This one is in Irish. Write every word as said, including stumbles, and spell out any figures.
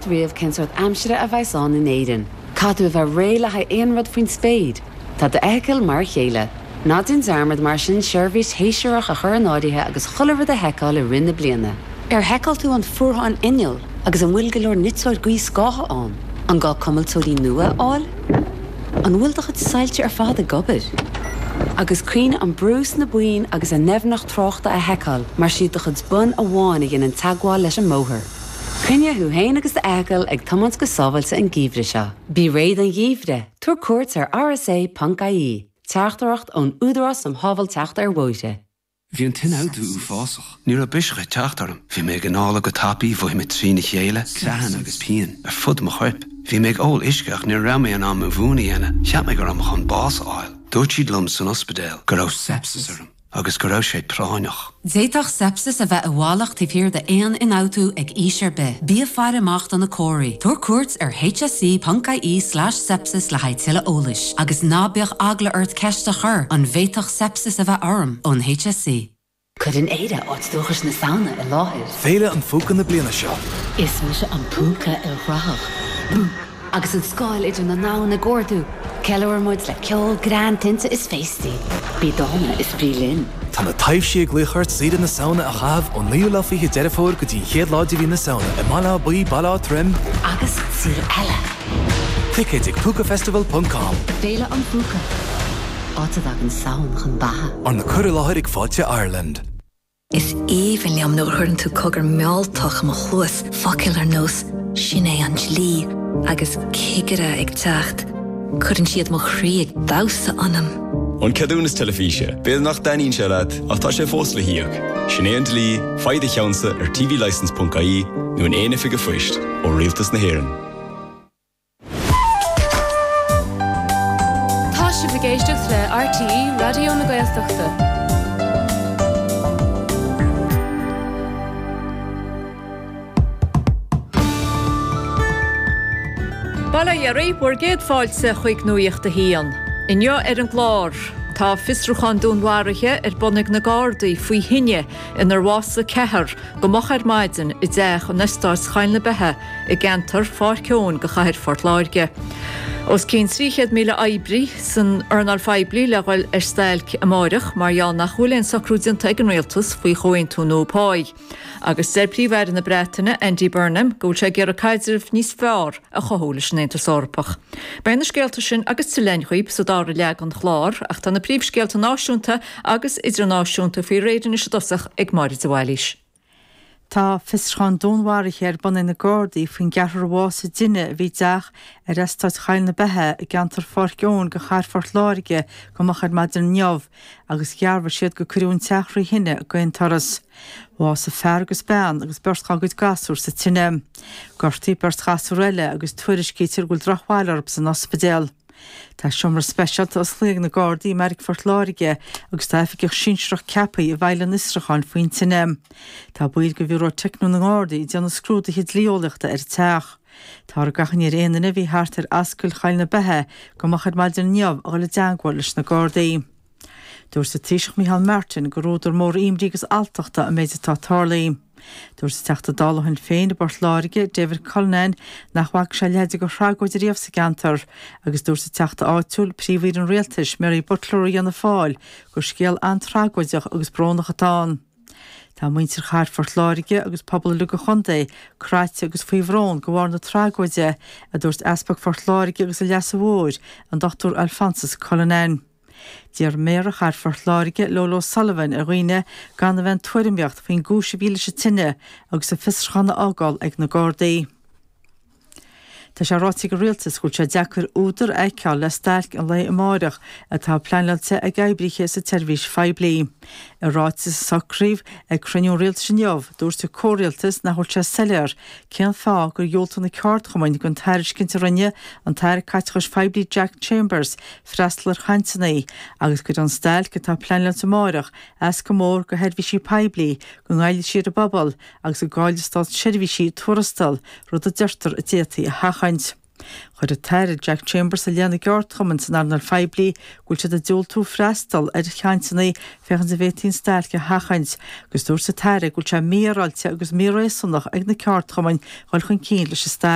Riamh cén sórt aimsire a bheas ann in Éirinn. Caithfidh tú a bheith réidh le haghaidh aon rud faoin spéir. Tá d'fheithicil mar a chéile. Ná déan dearmad mar sin seirbhís shéasúrach a chur in áirithe agus chuile rud a sheiceáil i rith na bliana. Ar sheiceáil tú an fuarthán inneall agus an bhfuil go leor niteoir gaothscátha ann, an gá cuimilteoirí nua a fháil? An bhfuil do chuid soilse ar fad ag obair? Agus cuimhnigh an brú sna boinn agus a ndoimhneacht tráchta a sheiceáil mar is iad do chuid bonn amháin a dhéanann teagmháil leis an mbóthar. Coinnigh thú féin agus d'fheithicil ag tiomáint go sábháilte an geimhreadh seo. Bí réidh don gheimhreadh, tabhair cuairt ar rsa.ie, teachtaireacht ón Údarás um Shábháilteacht ar Bhóithre. Bhí an t-ionfhabhtú uafásach. Ní raibh biseach ag teacht orm. Bhí mé ag análú go tapaidh, mhothaigh mé trína chéile, creathan agus pian ar fud mo choirp. Bhí mé ag ól uisce ach ní raibh mé in ann mo mhún a dhéanamh, cheap mé go raibh mé chun bás a fháil. Dúirt siad liom san ospidéal go raibh sepsis orm agus go raibh sé práinneach. D'fhéadfadh sepsis a bheith i bhfalach taobh thiar d'aon ionfhabhtú ag aois ar bith. Bí ag faire amach do na comharthaí. Tabhair cuairt ar hse.ie slash sepsis le haghaidh tuilleadh eolais, agus ná bíodh eagla ort ceist a chur an bhféadfadh sepsis a bheith orm ón HSE. Cuireann Éire áit dúchais na Samhna i láthair. Féile an Phúca na bliana seo. Is mise an púca ilchruthach. Agus an scáil idir na domhain ag ardú, ceiliúrann muid le ceol, greann, tinte is féastaí. Bí dána is brí linn. Tá na taibhsí ag glaoch ort saoire na Samhna a chaitheamh ón naoú lá fiche Deireadh Fómhair go dtí an chéad lá de mhí na Samhna i mBaile Átha Buí, Baile Átha Troim agus saol eile. Ticéid ag púcafestival ponc com. Féile an Phúca. Áit a dtagann Samhain chun beatha. Arna cur i láthair ag Fáilte Ireland. Is aoibhinn liom nuair a chuireann tú cogar mealltach i mo chluas, focail ar nós 'sin é an dlí' agus 'cigire ag teacht'. Cuireann siad mo chroí ag damhsa ionam. An ceadúnas teilifíse, b'fhéidir nach dtaitníonn sé leat, ach tá sé fós le híoc. Sin é an dlí, faigh do cheannsa ar tvlicence ponc ie nó in aon oifig an phoist ó Rialtas na hÉireann. Tá sibh ag éisteacht le RTÉ Raidió na Gaeltachta. Bail ó Dhia oraibh, bhur gcéad fáilte chuig Nuacht a hAon. Inniu ar an gclár, tá fiosrúchán dúnmharaithe ar bun ag na Gardaí faoi thine inar bhásaigh ceathrar go moch ar maidin i dteach in Eastát Choill na Beithe i gceantar Pháirc Eoin de chathair Phort Láirge. Os cionn trí chéad míle oibrí san earnáil phoiblí le dhul ar stailc amáireach mar gheall nach bhfuil aon socrú déanta ag an rialtas faoi chomhaontú nua páí. Agus deir Príomh-Aire na Breataine, Andy Burnham, go bhfuil sé ag iarraidh caidreamh níos fearr a chothú leis an Aontas Eorpach. Beidh na scéalta sin agus tuilleadh againn dhaoibh sa dara leath den chlár, ach tá na príomhscéalta náisiúnta agus idirnáisiúnta faoi réir anois i dtosach ag Máire de Bhailís. Tá fiosrúchán dúnmharaithe ar bun ag na Gardaí faoin gceathrar a bhásaigh i dtine a bhí i dteach ar Eastát Choill na Beithe i gceantar Pháirc Eoin de chathair Phort Láirge go moch ar maidin inniu agus dhearbhaigh siad gur cuireadh an teach thrí thine d'aon turas. Bhásaigh fear agus bean agus beirt dá gcuid gasúr sa tine. Gortaíodh beirt ghasúr eile agus tuairiscítear go bhfuil drochbhail orthu san ospidéal. Tá seomra speisialta osclaithe ag na Gardaí i mBeairic Phort Láirge agus tá oifigeach sinsearach ceaptha a bheidh lena fhiosrúchán faoin tine. Tá baill de Bhiúró Teicniúil na nGardaí ag déanamh scrúduithe dlí-eolaíochta ar an teach. Táthar ag achainí ar aon duine a bhí thart ar Ascaill Choill na Beithe go moch ar maidin inniu a dhul i dteangmháil leis na Gardaí. Dúirt an Taoiseach Micheál Martin gur údar mór imní agus alltachta an méid atá tarlaithe. Dúirt an Teachta Dála Shinn Féin i bPort Láirge, David Cullinane, nach bhfaca sé a leithéid de thragóid ariamh sa gceantar agus dúirt an Teachta áitiúil, Príomh-Aoire an Rialtais, Mary Butler ó Fhianna Fáil, gur scéal an-tragóideach agus brónach atá ann. Tá muintir chathair Phort Láirge agus pobal uilig an chontae craite agus faoi bhrón de bharr na tragóide, a dúirt Easpag Phort Láirge agus an Leasa Mhóir, an Dochtúir Alphonsus Cullinane. D'iarr Méara Chathair Phort Láirge, Lolo O'Sullivan, ar dhaoine gan a bheith ag tuairimíocht faoin gcúis a bhí leis an tine agus an fiosrúchán a fhágáil ag na Gardaí. Tá sé ráite ag an Rialtas go bhfuil sé deacair údar a fheiceáil le stailc an lae amáireach atá pleanáilte ag oibrithe sa tseirbhís phoiblí. I ráiteas a socraíodh ag cruinniú an Rialtais inniu, dúirt an comhrialtas nach bhfuil sé soiléir cén fáth gur dhiúltaigh na ceardchumainn don tairiscint a rinne an tAire Caiteachais Phoiblí Jack Chambers freastal ar chainteanna agus gur an stailc atá pleanáilte amáireach as go mór do sheirbhísí poiblí, go ngoillfidh sí ar an bpobal agus go gcaillfidh státseirbhísigh tuarastal, rud a deirtear a d'fhéadfaí a sheachaint. Chuir an tAire Jack Chambers i leith na gceardchumann san earnáil phoiblí go bhfuil siad ag diúltú freastal ar chainteanna féachaint an bhféadfaí an stailc a sheachaint, agus dúirt an tAire go bhfuil sé mífhéaráilte agus míréasúnach ag na ceardchumainn dul chun cinn leis an stailc.